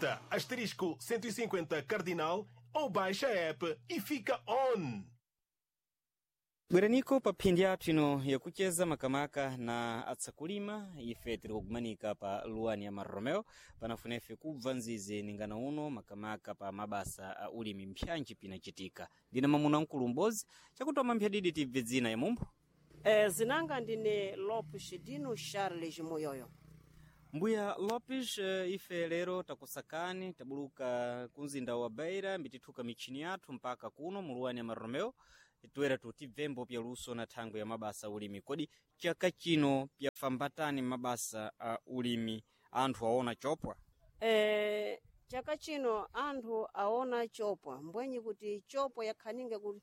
Digita asterisco 150 cardinal ou baixa a app e fica on. Bweraniko pa phindi yathu ino yakucheza makamaka na atsakulima. Ife tiri kugumanika pa luwani ya Maromeo, panafuna ife kubva nzizi ningana uno makamaka pa mabasa a ulimi mpyanji pinacitika. Ndina mamuna mkulu m'bodzi chakutoma mphyadidi tibve dzina ya mumbo. Zinanga ndine Lopes Dino Charles Moyoyo. Mbuya Lopes, ife lero takusakani, tabuluka kumzinda wa Beira, mbitithuka michini yathu mpaka kuno muluwani ya Maromeo, toera tutibvembo pya luso na thangwe ya mabasa a ulimi. Kodi chaka chino pyafambatani mabasa a ulimi, anthu aona chopwa? Chaka chino anthu aona chopwa, mbwenyi kuti chopwa yakhaninga kuti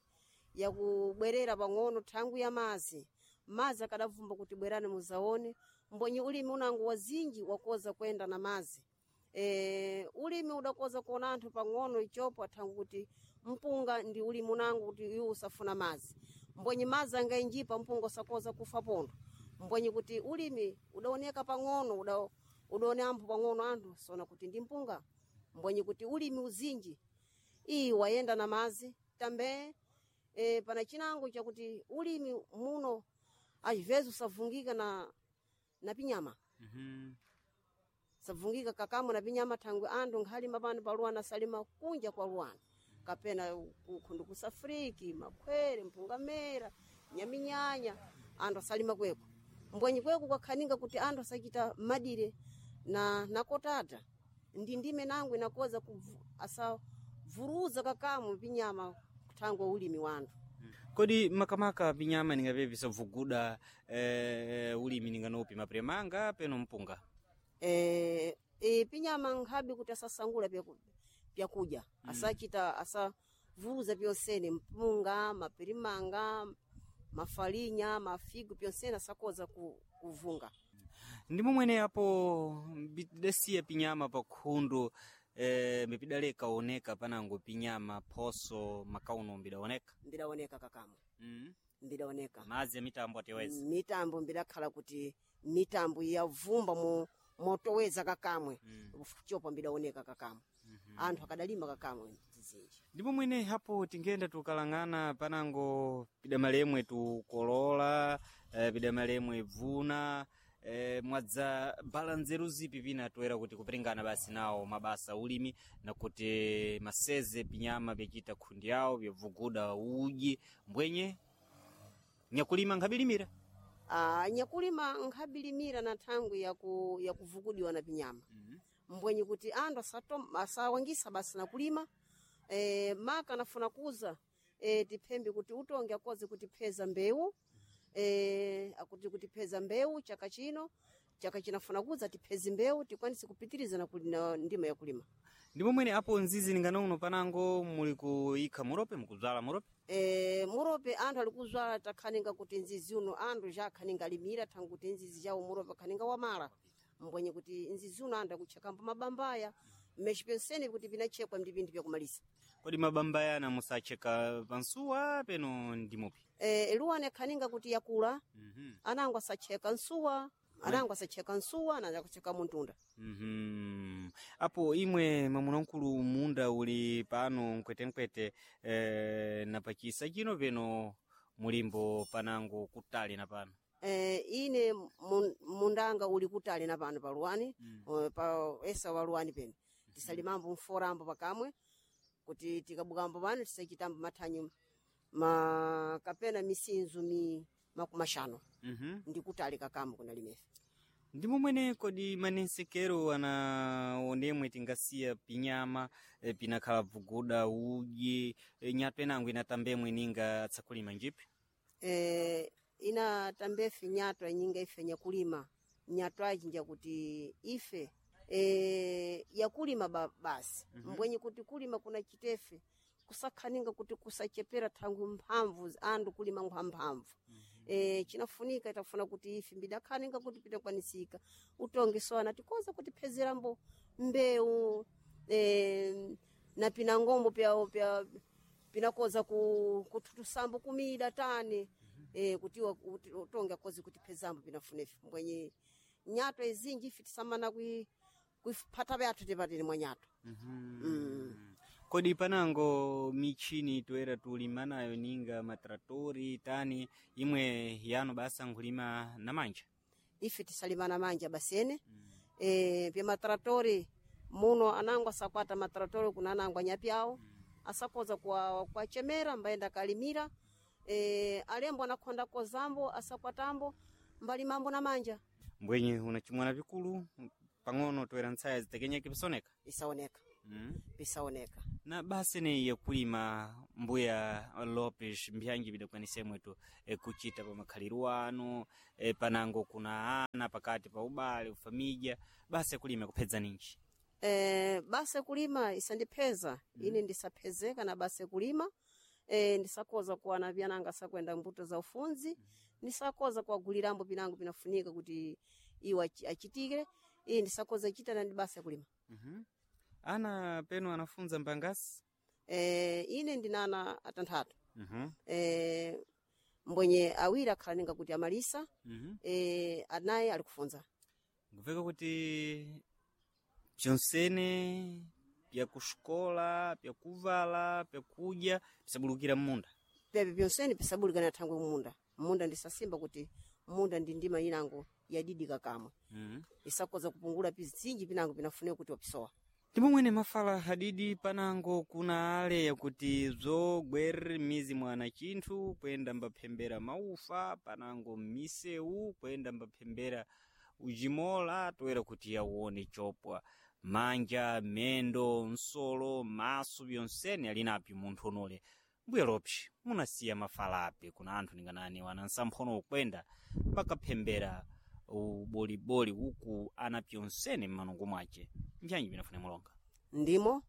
yakubwerera pang'ono thangwi ya mazi. Mazi akadavumba kuti bwerani muzaone, mbwenyi ulimi unango wazinji wakoza kwenda na mazi. Ulimi udakoza kuona anthu pang'ono ichopwa thangwi kuti mpunga ndi ulimi unango kuti iwo usafuna mazi, mbwenyi mazi angainjipa mpunga usakoza kufa pondo, mbwenyi kuti ulimi udaoneka pang'ono, udaone ampho pang'ono anthu sona kuti ndi mpunga, mbwenyi kuti ulimi uzinji iyi wayenda na mazi tambe. Pana chinango chakuti ulimi muno às usavungika na pinyama. Savungika kakamwe na pinyama thangwi anthu nkhalima pano pa luwana salima kunja kwa luwana kapena kukhundu kusafriki makhwere mpungamera nyaminyanya anthu asalima kweko, mbwenyi kweko kwakhaninga kuti anthu asachita madire na kotata ndi ndime nango inakoza asavuruza kakamwe pinyama thangwe ulimi wa anthu. Kodi makamaka pinyama ningape pisavuguda ulimi ninganopi mapiremanga peno mpunga? Pinyama nkhabe kuti asasangula pyakudya, asachita asavuruza pyonsene mpunga, mapirimanga, mafalinya, mafigu pyonsene asakoza kuvunga. Ndi momwene apo mbidasiya pinyama pa khundu, mbipidaleka oneka panango pinyama phoso makauno mbidaoneka? Mbidaoneka kakamwe. Mbidaoneka. Madzi ya mitambo ateweza. Mitambo mbidakhala kuti mitambo yavumba motoweza kakamwe. Chopa mbidaoneka kakamwe. Anthu akadalima kakamwe zinji. Ndipo mwene hapo tingenda tukalang'ana panango pidamalemwe tukolola, pidamalemwe bvuna, mwadza bala nzeru zipi pina toera kuti kuperingana basi nawo mabasa ulimi na kuti maseze pinyama pyachita khundi yawo pyavuguda uji mbwenye nyakulima nkhabilimira? Nyakulima nkhabilimira na thangwi yakuvugudiwa na pinyama. Mbwenyi kuti anthu asawangisa basi na kulima. Maka anafuna kuza, tiphembe kuti utonge akoze kutipheza mbewu, akuti kutipheza mbewu chaka chino, chaka chinafuna kuza tipheze mbewu tikwanise kupitiriza na ndima yakulima. Ndipo mwene apo nzizi ninganono panango muli kuyikha murope, mukubzala murope? Murope anthu ali kuzwala, takhaninga kuti nzizi uno anthu jakhaninga alimira thangwi kuti nzizi jawo murope akhaninga wamala, mbwenye kuti nzizi uno anthu akutchekambo mabambaya mmechi pyonsene kuti pinachekwa ndi pinthu pyakumalisa. Kodi mabambaya ana musacheka pansuwa peno ndimupi? Luwani akhaninga kuti yakula. Anango asacheka nsuwa, anango asacheka nsuwa anango akucheka muntunda. Apo imwe mwamuna mkulu munda uli pano mkwetenkwete, na pachisa chino peno mulimbo panango kutali na pano? Ine mundanga uli kutali na pano pa luwani. Pa esa wa luwani peno tisalimambo mforambo pakamwe kuti tikabukambo pano tisachitambo mathanyu kapena misinzu mi 50. Ndikutali kakamwe kuna limefe. Ndi momwene kodi manensekero ana onemwe tingasiya pinyama, pinakhala bvuguda uji, nyatwa inango inatambemwe ninga atsakulima njipi? Inatambefe nyatwa nyinga ife nyakulima nyatwaji njakuti ife yakulima basi. Mbwenye kuti kulima kuna chitefe kusakhaninga kuti kusachepera thangwi mphamvu anthu kulima nkhamphamvu. Chinafunika itafuna kuti ife mbidakhaninga kuti pitakwanisika utonge sona tikoza kutiphezerambo mbewu, na pinangombo pya pinakoza kuthutusambo kumida tani, kuti utonge akoze kutiphezambo pinafunefe mbwenye nyatwa izinji ife tisamana Kuiphata vyathu tipatile mwanyathu. Kodi panango michini toera tulima nayo ninga matratori tani imwe yanu basa nkhulima na manja? Ife tisalima na manja basene. Pya matratori muno anango asakwata matratori kuna anango anyapi awo asakoza kuwachemera mbaenda kalimira. Alembo anakhonda kozambo asakwatambo mbalimambo na manja. Mbwenye unachimwana vikulu pang'ono toera ntsaya zitekenyeke pisoneka. Isaoneka. Pisaoneka. Na basi ni yakulima mbuya Lopes mbyanji bidakwanisa imwetu kuchita pa makhaliro anu panango kuna ana pakati pa ubale ufamija basi yakulima kuphedza ninji? Basi kulima isandipheza. Ine ndisaphezeka na basi kulima. Ndisakoza kuwana vyananga sakwenda mbuto za ufunzi. Ndisakoza kuwagulirambo pinango pinafunika kuti iwo achitike. Iye ndisakoza chita na ndi basi kulima. Ana penu anafunza mbangasi? Ine ndinana atanthatu. Mbwenye awiri akhala ninga kuti amalisa. Anayi ali kufunza. Nkupfeka kuti pyonsene pyakuxikola, pyakuvala, pyakudya pisabulukira mmunda. Pepe pyonsene pisabulikana thangwe munda. Munda ndisasimba kuti munda ndi ndima inango yadidika kamwe. Isakoza kupungula pizinji pinango pinafunika kuti wapisowa. Ndipo mwene mafala hadidi panango kuna ale yakuti zogwerere mizi mwana chinthu kuyenda mbaphembera maufa panango mmisewu kuyenda mbaphembera ujimola toera kuti yawone chopwa manja mendo nsolo maso byonsene ali napyo munthu onole. Mbuya Lopes munasiya mafala api kuna anthu ninganani wana nsamphono ukwenda mbakaphembera uboliboli uku ana pyonsene mmanungo mwace mbyanji binafune mulonga? Ndimo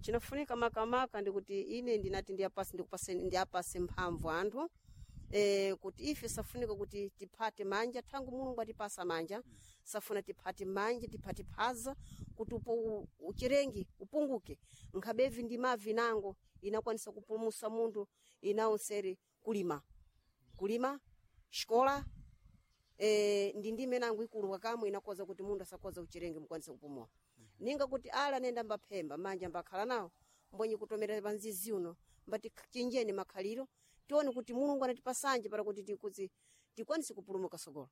chinafunika makamaka ndikuti ine ndinati ndiyapase ndikupase ndiyapase mphamvu anthu. Kuti ife safunika kuti tiphate manja thangu Mulungu atipasa manja. Safuna tiphate manja tiphate phaza kuti upo uchirengi upunguke. Nkhabevi ndi mavi nango inakwanisa kupulumusa munthu inawo seri kulima. Kulima xikola ndi ndime nango ikulu kakamwe inakoza kuti munthu asakoza uchirengi mukwanisa kupumula. Ninga kuti ala nenda mbaphemba manja mbakhala nawo mbonye kutomera panzizi uno mbati chinjeni makhaliro tione kuti Mulungu anatipasanje para kuti tikwanise kupulumuka sogolo.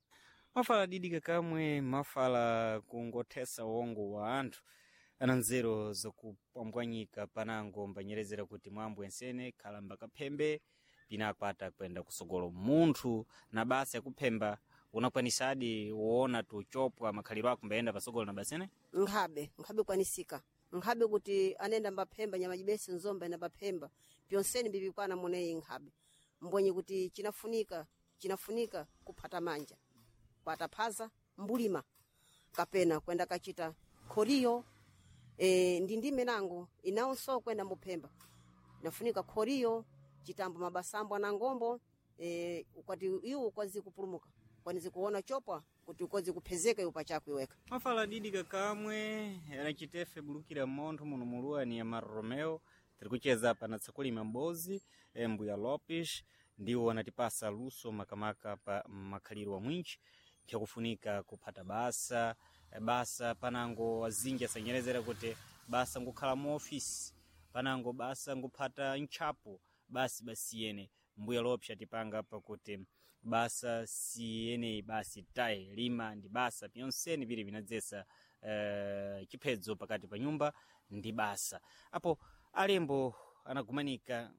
Mafala didika kamwe mafala kungothesa wongo wa anthu ana nzeru zakupambwanyika panango mbanyerezera kuti mwambo ensene khala mbakaphembe pinakwata kwenda kusogolo munthu na basa yakuphemba unakwanisadi woona tuchopwa makhaliro ako mbayenda pasogolo na basene? Nkhabe, nkhabe kwanisika. Nkhabe kuti anenda mbaphemba nyama jibese nzomba enda mbaphemba pyonsene mbipikwana muneyi nkhabe. Mbonye kuti chinafunika kuphata manja. Kwataphaza mbulima kapena kwenda kachita khoriyo. Ndi ndime nango inawonso kwenda muphemba. Nafunika khoriyo chitambo mabasambo anangombo ukwati iwo ukwazi kupulumuka. Kwanizi kuona chopwa kuti ukozi kuphezeka iwo pachako iweka. Mafala didika kamwe anachitefe bulukira montho muno muluwa ni Amaro Romeo tiri kucheza pana tsakulima mbozi Mbuya Lopes ndiwo anatipasa luso makamaka pa makhaliro wa mwinji nkhakufunika kuphata basa basa panango azinji asanyerezera kuti basa ngukhala mu ofisi panango basa nguphata ntchapo basi basiyene. Mbuya Lopes atipanga pakuti basa siyeneyi basi tayi lima ndi basa pyonsene pili pinadzesa chiphedzo pakati pa nyumba ndi basa. Apo alembo anagumanika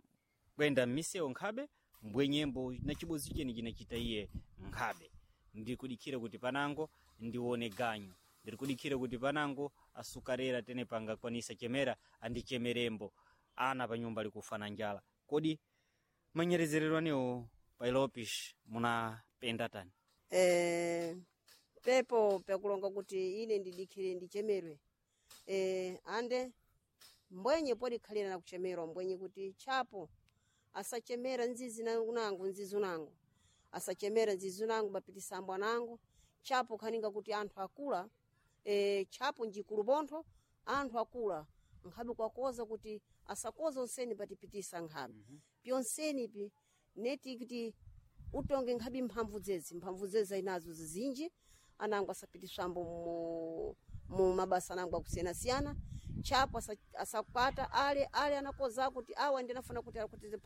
kwenda m'misewu nkhabe mbwenyembo na chibozi cheni chinachita iye nkhabe. Ndikudikhira kuti panango ndione ganyu, ndirikudikhira kuti panango asukarera tene pangakwanisa chemera andichemerembo ana pa nyumba likufa na njala. Kodi manyerezerero anewo pa Lopes munapenda tani? Pepo pekulonga kuti ine ndidikhire ndichemerwe. Ande mbwenye podikhalira na kuchemerwa mbwenye kuti chapo asachemera nzizi nangu nzizi unangu asachemera nzizi unangu bapitisambwa nangu chapo khaninga kuti anthu akula. Chapo njikulu bontho anthu akula nkhabe kwakoza kuti asakoza onseni patipitisa nkhabe. Pyonseni pi neti kuti utonge nkhabe mphamvu dzedzi mphamvu dzedzi ayinazo zizinji anango asapitiswambo mu Mu mabasa nangu akusiyana-siyana chapo asakwata ale ale anakoza kuti awa ndinafuna kuti kuti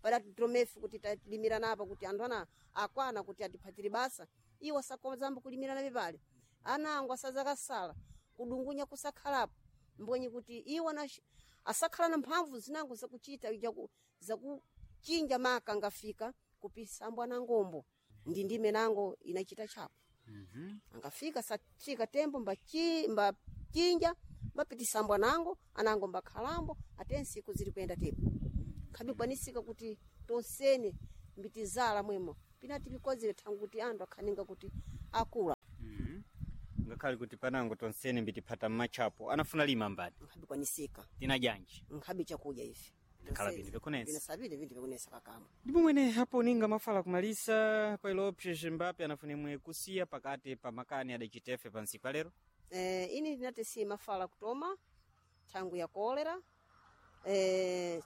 para dromefi kuti talimirana apa kuti anthu ana akwana kuti atiphatire basa iwo asakozambo kulimirana pepale anango asazakasala kudungunya kusakhalapo mbwenye kuti iwo asakhala na mphamvu zinango zakuchita zakuchinja maka angafika kupisambwa na ngombo ndi ndime nango inachita chapo. Angafika safika tembo mbachinja mbapitisambwa nango anango mbakhalambo ate nsiku zili kuyenda tepo khabikwanisika kuti tonsene mbitizala mwemo pinati pikozere thangu kuti anthu akhaninga kuti akula. Ngakhale kuti panango tonsene mbitiphata mmachapo anafuna lima mbani Nkhabikwanisika. Tina janji Nkhabi chakudya ife. Khala vinthu vyakunesa. Vinasabire vinthu vyakunesa kakamo. Ndipo mwene hapo ninga mafala kumalisa pailopse Mbape anafunemwe kusiya pakati pa makani adacitefe pa ntsiku alero. Ini ndinati si mafala kutoma thangu ya kolera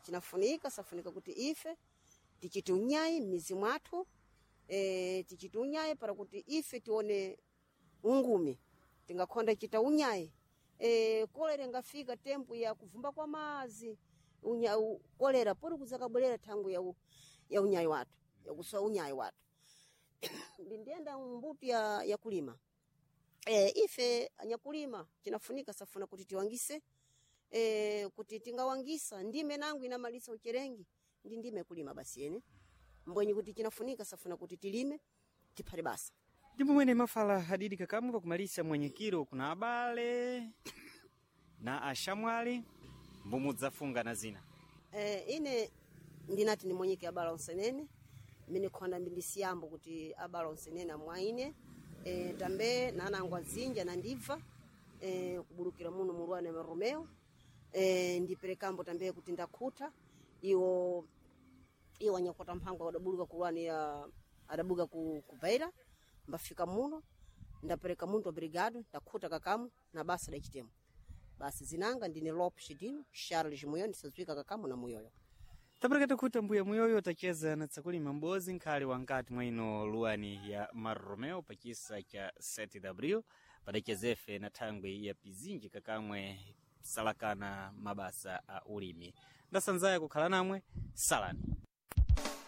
chinafunika safunika kuti ife tichite unyayi m'mizi mwathu tichite unyayi para kuti ife tione ungumi tingakhonda chita unyayi kolera ingafika tempo ya kuvumba kwa mazi kolera pori kuzakabwerera thangu ya unyayi wathu yakusowa unyayi wathu ndindiyenda mbuto ya kulima ife anyakulima chinafunika safuna kuti tiwangise kuti tingawangisa ndime nangu inamalisa ucherengi ndi ndime kulima basi ene mbwenye kuti chinafunika safuna kuti tilime tiphale basa. Ndipo mwene mafala hadidi kakamwe pakumalisa mwenyekiro kuna abale na ashamwali mbumudzafunga na zina. Ine ndinati nimwenyeke abala onsenene mine khonda mbindisiyambo kuti abala onsenene amwaine tambe nanangu azinja nandibva kubulukira muno mulwana wa Romeo ndiperekambo tambe kuti ndakhuta iwo iwo anyakwata mphango adabuluka kulwani ya adabuka ku Beira mbafika muno ndapereka muntu obrigado ndakhuta kakamu na basa dachitemo basi zinanga ndine Lopes Dino Charles Muyoyo ndisazwika kakamu na Muyoyo. Tapereketa kuti mbuya muyoyo tacheza na tsakulima m'bozi nkhali wankati mwa ino luwani ya Marromeo pachisa cha 7W padachezefe na thangwi ya pizinji kakamwe salakana mabasa a ulimi. Ndasanzaya kukhala namwe salani.